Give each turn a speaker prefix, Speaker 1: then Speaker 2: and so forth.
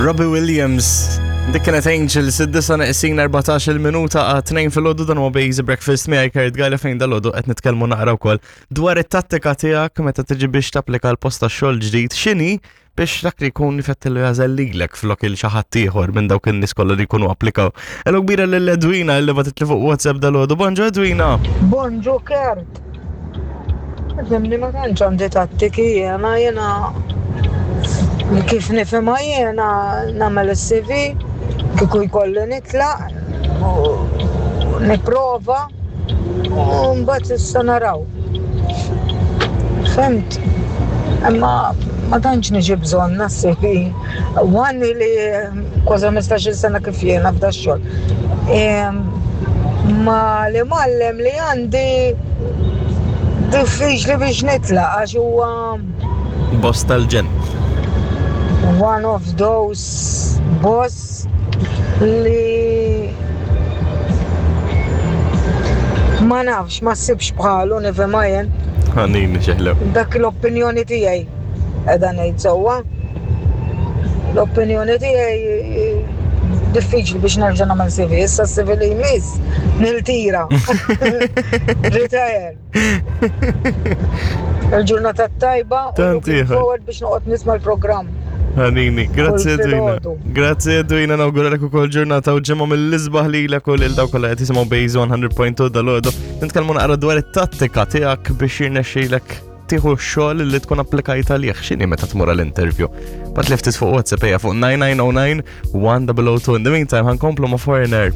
Speaker 1: Robbie Williams. Dik kienet Angels, id-disa neqsin 14 minuta għat 2 fil-ħodu dan huwa Basic Breakfast miegħi Kurt Gala fejn dal-ħodu qed nitkellmu naqra wkoll dwar it-tattika tiegħek meta tiġi biex tapplika l-post tax-xogħol ġdid x'inhi biex dak li jkun ifettillu jażel lilek flok il xi ħadd ieħor minn dawk in-nies kollha li jkunu applikaw. Hello kbira lil Edwina li bagħtitli fuq WhatsApp dal-ħodu. Bonġu Edwina!
Speaker 2: Bonġu Kurt! Fimni ma tantx għandi tattiki jiena jiena kif nifhimha jiena nagħmel is-CV kieku jkolli nitlaq u nipprova u mbagħad issa naraw. Fhimt? Imma ma tantx niġi bżonn nas-CV. One li kważi 15-il sena kif jiena f'da xogħol. Ma li mallem li għandi diffiċli biex nitlaq għax huwa
Speaker 1: Boss tal-ġen.
Speaker 2: One of those boss li ma nafx, ma ssibx bħalu nifhimha jien.
Speaker 1: Ħanini xeħlew.
Speaker 2: Dak l-opinjoni tiegħi. Qiegħda ngħid sewwa. L-opinjoni tiegħi diffiċli biex nerġa' nagħmel CV. Issa s-CV li jmiss niltira. Retire. Il-ġurnata tajba u looking forward biex noqgħod nisma' l-programm.
Speaker 1: Ħanini, grazzi Edwina. Grazzi Edwina, nawguralek ukoll ġurnata u ġimgħa mill-isbaħ lilek u lil dawk kollha qed jisimgħu Base 100.2 dal-għodu. Nitkellmu naqra dwar it-tattika tiegħek biex jirnexxilek tieħu x-xogħol li tkun applikajt għalih x'inhi meta tmur għall-interview. Bat li ftit fuq WhatsApp ejja fuq 9909 1002. In the meantime, ħankomplu ma' Foreigner.